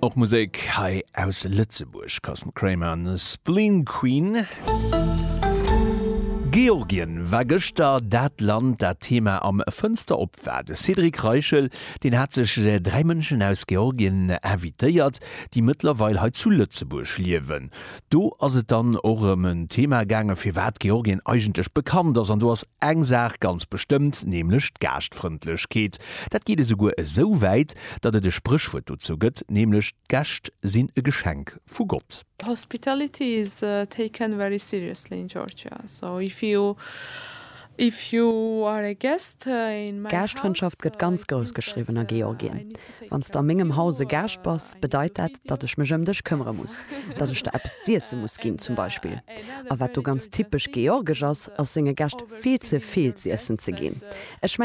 Och Musek hei aus Lëtzebuerg, Cosmo Kramer an Spleen Queen. Georgien war gëschter dat Land, dat Thema am Fënster op war. De Cédric Reichel, deen hat sech 3 Mënschen aus Georgien invitéiert, déi mëttlerweil hei zu Lëtzebuerg liewen. Do ass et dann och ëm en Thema gaangen, firwat Georgien eigentlech bekannt ass. An do ass eng Saach ganz bestëmmt, nämlech d'Gaaschtfrëndlechkeet. Dat geet esouguer esou wäit, datt et e Spréchwuert dozou gëtt, nämlech d'Gäscht sinn e Geschenk vu Gott. Hospitality is taken very seriously in Georgia, so if you if you are a guest in my house. Gaaschtfrëndschaft gëtt ganz grouss geschriwwen a Georgien. Wann s de a mengem Haus e Gaascht bass, bedeit dat, datt ech mech ëm dech këmmere muss, datt ech der eppes z'iesse muss ginn zum Beispill. A wat do ganz typesch georgesch ass, ass senge Gäscht vill ze vill z'iessen ze ginn. Ech mengen.